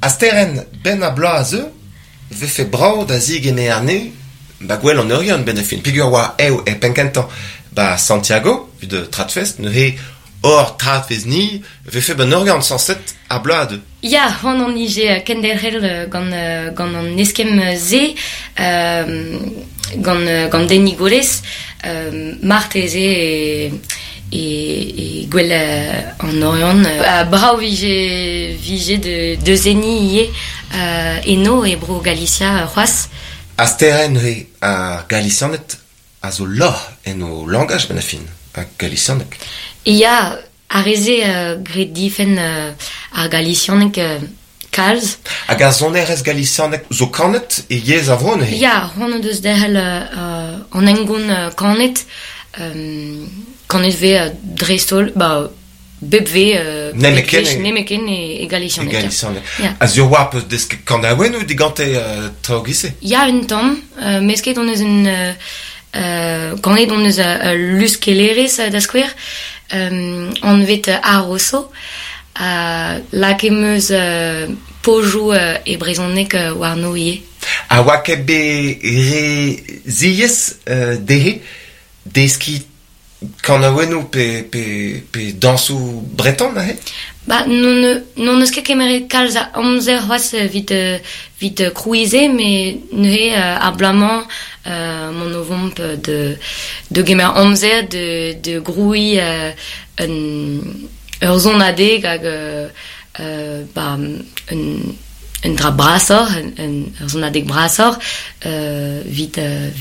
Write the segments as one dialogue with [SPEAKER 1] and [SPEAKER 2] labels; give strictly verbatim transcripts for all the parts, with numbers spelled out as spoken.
[SPEAKER 1] Asteren ben a bloaz a zeu, vefe brav da zigemer anezhe, ba gwell an Oriant ben a fin. Peogwir oa ev e penn-kentañ ba Santiago, evit Tradfest, neuze hor Tradfest ni, vefe ban Oriant sañset ar bloaz a deu.
[SPEAKER 2] Ya, c'hoant hon ije kenderc'hel gant, gant an eskemm se, euh, gant, gant Denis Golez, euh, marteze e, e, e gwell an Oriant. Uh, brav vije, vije de, de zeni ivez uh, eno e bro Galicia c'hoazh.
[SPEAKER 1] Asteren neuze ar Galicianed a zo lorc'h en o langaj ben a fin, ar Galicianeg.
[SPEAKER 2] Ya, ar re-se uh, graet difenn uh, ar Galicianeg uh, kalz.
[SPEAKER 1] Hag ar sonerezh galicianeg zo kanet e yezh a vro neuze?
[SPEAKER 2] Ya, c'hoant o deus derc'hel uh, an hengoun uh, kanet, um, kanet vez uh, dreist-holl, ba, bep vez, uh,
[SPEAKER 1] Nemeken e,
[SPEAKER 2] nemeken e, e galicianeg.
[SPEAKER 1] E galicianeg.
[SPEAKER 2] Ya.
[SPEAKER 1] A sur oa peus desket kanaouennoù digante uh, traoù giz-se?
[SPEAKER 2] Ya, un tamm, uh, mesket hon eus un... Uh, Uh, kanet hon eus uh, luskellerez uh, da skouer, um, anvet uh, Aroso, uh, lakaet em eus uh, pojoù uh, e brezhoneg uh, warno ivez.
[SPEAKER 1] Ha oa ket bet re ziaes uh, dezhe deskiñ kanaouennoù pe, pe, pe dañsoù breton aze?
[SPEAKER 2] Ba, n'on n'on eus ket kemeret kalz a amzer c'hoazh evit, evit krouiñ se, met neuze uh, ar bloaz-mañ uh, m'on o vont de, de gemer amzer de, de grouiñ uh, un, ur sonadeg hag uh, uh, ba, un, un dra brasoc'h, un, un, ur sonadeg brasoc'h, uh, evit, uh,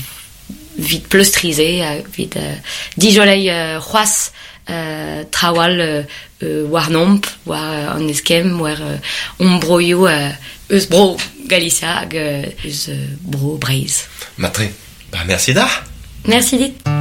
[SPEAKER 2] evit pleustriñ se, evit uh, dijoleiñ uh, c'hoazh uh, traoù all uh, uh, warnomp, war an eskemm, war uh, hon broioù uh, eus bro Galicia hag uh, eus uh, bro Breizh.
[SPEAKER 1] Matre, ba merci da.
[SPEAKER 2] Merci dit.